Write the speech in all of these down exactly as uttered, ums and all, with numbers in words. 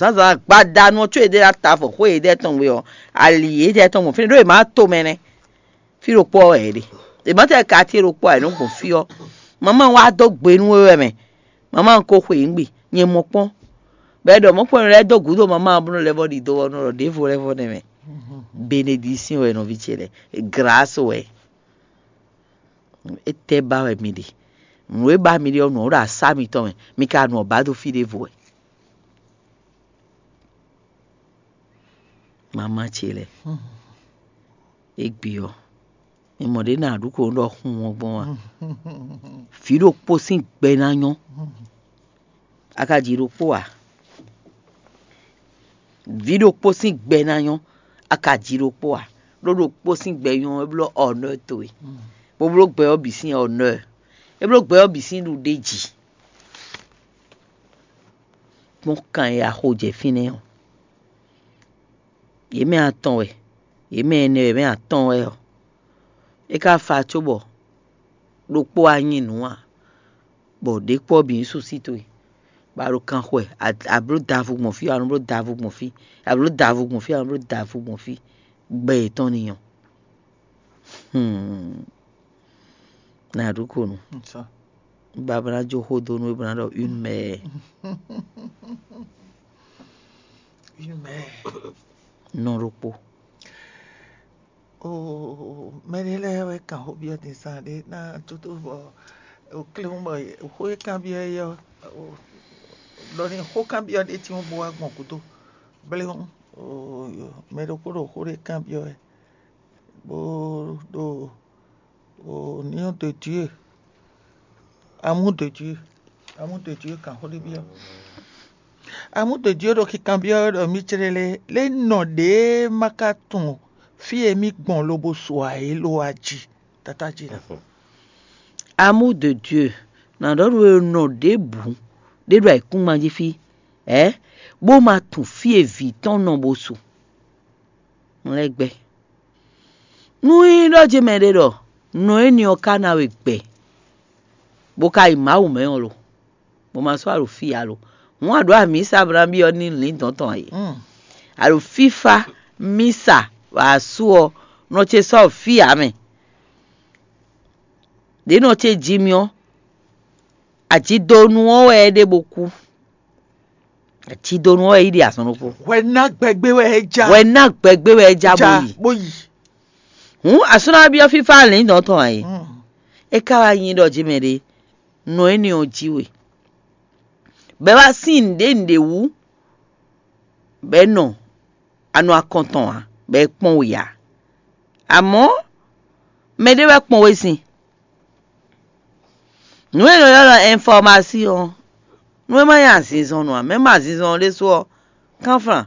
Zǎnzǎn gbadanu ɔ́, có yěɖée ná ta avɔ xwé yěɖée tɔn gbe ɔ́, ali yěɖée tɔn gbɔn fínɛ́ ɖó yě má to mɛ nɛ́. Fí ɖokpó ɔ́ wɛ yě ɖe. Yě má tɛ ka cí ɖokpó ǎ, yě nɔ gbɔn fí ɔ́. Mama wá dó gbe nú we wɛ mɛ. Mama ko xwe yě gbe, nyɛ mɔ kpɔ́n. Bɔ é ɖɔ mɔ̌kpɔ́nɔ lɛ́ɛ dó gǔdo mama ɔ́ bó nɔ lɛ́ vɔ ɖidó ɔ́ nɔ ɖɔ ɖěvo lɛ́ vɔ nɛ́ mɛ. Benedisín wɛ nɔví ce lɛ́ɛ, glǎs wɛ. Étɛ́ ba wɛ mi ɖe? Nǔ e ba mi ɖe ɔ́, nǔ ɔ́ ɖo asá mitɔn mɛ, mi ka nɔ ɔ́ ba dó fí ɖěvo wɛ. Mama ce lɛ́ɛ, égbé ɔ́, mi mɔ ɖě nǎ ɖu ko ɖɔ xun ɔ́ gbɔn a? Vǐ ɖokpó sín gbɛ ná nyɔ́. A ka ji ɖokpó ǎ? Vǐ ɖokpó sín gbɛ ná nyɔ́. A ka ji ɖokpó ǎ? Ɖó ɖokpó sín gbɛ nyɔ́ é bló honneur towe, bó bló gbɛ ɔ́ bǐ sín honneur, é bló gbɛ ɔ́ bǐ sín ɖuɖéji. Kpɔ́n kan e a xo jɛ fínɛ́ ɔ́, yě mɛ atɔn wɛ, yě mɛ ɛnɛ wɛ mɛ atɔn wɛ ɔ́, é ka fa cóbɔ ɖokpó wá nyi nǔ ǎ, bɔ ɖě kpɔ́ bǐ nyí súsí towe, bɔ a ɖo kan xo wɛ, a bló davu gbɔn fí, a nɔ bló davu gbɔn fí, a bló davu gbɔn fí, a nɔ bló davu gbɔn fí, gbɛ yětɔn ní nyɔ́. Hmm. Nǎ ɖu ko nu. Babla jó xó dó nú é bó ná ɖɔ une mère. Une mère. Nɔ ɖokpó. Oo, mɛɖé lɛ́ɛ wɛ kan xó byɔ́ din zán ɖé ná tótó bɔ kléwún bɔ xó e kanbyɔ́ é ɔ́, ɖɔ ni xó kanbyɔ́ ɖé tín bó wá gbɔn gúdo. Bléwún, mɛ ɖokpó ɖo xó ɖé kanbyɔ́ wɛ, bó ɖo au nom de Dieu, amour de Dieu, amour de Dieu kan xó ɖé byɔ́. Amour de Dieu ɖo kikanbyɔ́ wɛ ɖɔ mì clélé lé nɔ ɖě ma ka tunwun fí e mì gbɔn lobo su ǎ é lo wá jí. Tata jí ɖa. Amour de Dieu, nǎ ɖɔ nú we nɔ ɖěbǔ ɖé ɖo ayǐkúngban jí fí, ɛ, bó ma tunwun fí e vǐ tɔn nɔ bó su. Un lɛ́ gbɛ́. Nú nyí ɖɔ jí mɛɖé ɖɔ nɔ énɛ́ ɔ́ ka ná we gbɛ, bó ka yi Mawu mɛ ɔ́ lo, bó ma sɔ́ a ɖo fí ǎ lo, hǔn a ɖǒ amǐsa bó ná byɔ́ ní lǐndɔ̌n tɔn ǎ é. A ɖo fífá mísa wǎ asú ɔ́, nɔ ce sɔ́ fí ǎ mɛ. Ɖě nɔ ce jí mì ɔ́, ajidonu ɔ́ wɛ é ɖe bó kú. Ajidonu ɔ́ wɛ é yi ɖe azɔn ɖokpó. Hwɛ ná gbɛgbé wɛ é já. Hwɛ ná gbɛgbé wɛ é já bó yi. Bó yi. Hǔn asú ná byɔ́ fífá lǐndɔ̌n tɔn ǎ é. É ka wá nyí ɖɔ jí mɛ ɖé nɔ énɛ́ ɔ́ jí we. Bɛ́ wá sín nǔɖé nǔɖé wú, bɛ́ nɔ a nɔ akɔn tɔn ǎ, bɔ é kpɔ́n we ǎ. Amɔ̌, mɛɖé wɛ kpɔ́n we sin. Nǔ e è nɔ ylɔ́ ɖɔ ɛnfɔ́masin ɔ́, nú é má nyí azinzɔnnɔ ǎ, mɛ ma azinzɔnnɔ ɖésú ɔ́, kánflán,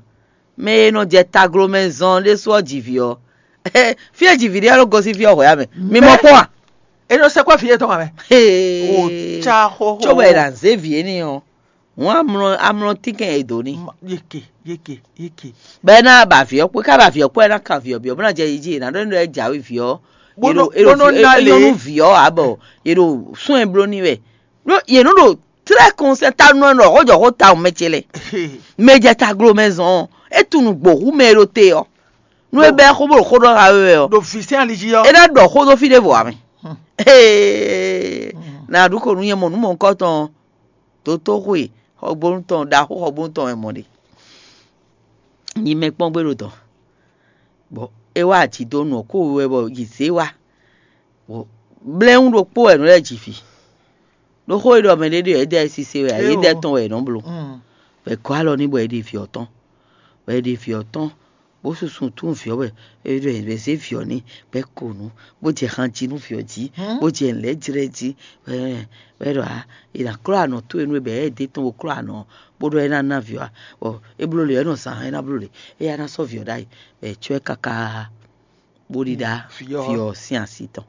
mɛ e nɔ jɛ taglo mɛ zɔn ɔ́ ɖésú ɔ́ ji vǐ ɔ́, fí e ji vǐ ɖé ɔ́ ɖo gosín fí ɔ́ hwɛ̌ ǎ mɛ. Mi mɔ kpɔ́n a? É nɔ sɛkpɔ́ vǐ yětɔn ǎ mɛ. Hee. Ó, cá xóxó. Cóbɔ è nǎ zé vǐ énɛ́ ɔ́, hǔn amlɔ amlɔ tínkɛn è dǒ n'i. Yeke, yeke, yeke. Bɔ é ná ba vǐ ɔ́ kpó, é ka ba vǐ ɔ́ kpó, é ná kan vǐ ɔ́ byɔ́, bó ná jɛ yi jí, è nǎ ɖɔ nú é jǎwe vǐ ɔ́. Bó nɔ- bó nɔ ná lě. Nyɔ́nú vǐ ɔ́ ǎ bɔ è ɖo sún ɛ bló n'i wɛ. Ɖó yě nɔ ɖo tlɛ́ kɔnsɛ́n ta nɔ ɛ ɖɔ xó jɔ xó tawun mɛ ce lɛ. Mɛ jɛ taglo mɛ zɔn ɔ́, é tunú gbǒ hú mɛ e ɖo te ɔ́. Nú é bɛ́ xó bó ɖo xó ɖɔ xa we wɛ ɔ́, ɖo vǐ sɛn ali jí ɔ́, é ná ɖɔ xó dó fí ɖěvo ǎ mɛ. Hee, nǎ ɖu ko nú nyɛ mɔ nǔ mɔ̌hunkɔtɔn ɔ́, dǒtó xwe xɔgbónu tɔn, ɖaxó xɔgbónu tɔn wɛ mɔ ɖe. Nyi mɛ kpɔ́n gbé ɖo dɔ̌n, bɔ é wá aji dó nǔ ɔ́ kó wɛ bɔ yi zě wá. Bɔ blɛ́hún ɖokpó wɛ nǔ lɛ́ɛ ji vǐ. Ɖó xó e ɖɔ mɛɖé ɖe ɔ́, é dɛ sise wɛ ǎ, é dɛ tɔn wɛ è nɔ bló. Bɔ è gɔ́ alɔ n'i bɔ è ɖe vǐ ɔ́ tɔn, bɔ è ɖe vǐ ɔ́ tɔn, bó susu tún vǐ ɔ́ wɛ, è ɖɔ è zé vǐ ɔ́ n'i, bɔ é ko nǔ, bó jɛ han jí nú vǐ ɔ́ jí, bó jɛ nǔ lɛ́ɛ jlɛ́ jí, bɔ é ɖɔ ǎ, è nǎ klɔ́ anɔ̌ towe nú we, bɔ é ɖe tɔn bó klɔ́ anɔ̌ ɔ́, bó ɖɔ é ná ná vǐ ɔ́ ǎ, bɔ é bló lě ɔ́, é nɔ zán é ná bló lě, éyɛ́ ná sɔ́ vǐ ɔ́ ɖ'ayǐ, bɔ è cɔ́ ɛ káká bó ɖíɖá vǐ ɔ́ sín asi tɔn.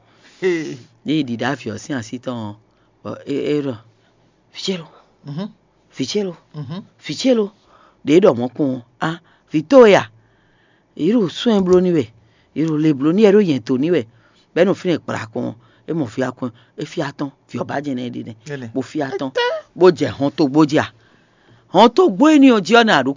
Ní è ɖíɖá vǐ ɔ́ sín asi tɔn ɔ́, bɔ é é ɖɔ: "Vǐ ce lo, vǐ ce lo, vǐ ce lo." Ɖě é ɖɔ mɔ̌ kpɔ́n ɔ́, á, vǐ towe a? Yě ɖo sɔ́ ɛ bló n'i wɛ, yě ɖo le bló n'i wɛ, é ɖo nyɛ̌ dó n'i wɛ, bɔ é nɔ fínɛ́ gbla kɔn ɔ́, é mɔ fí atɔn, é fí atɔn, vǐ ɔ́ ba jɛ nɛ́ ɖe nɛ́, bó fí atɔn, bó jɛ hɔntogbó jí a? Hɔntogbó énɛ́ ɔ́ jí ɔ́, nɛ a ɖǒ ko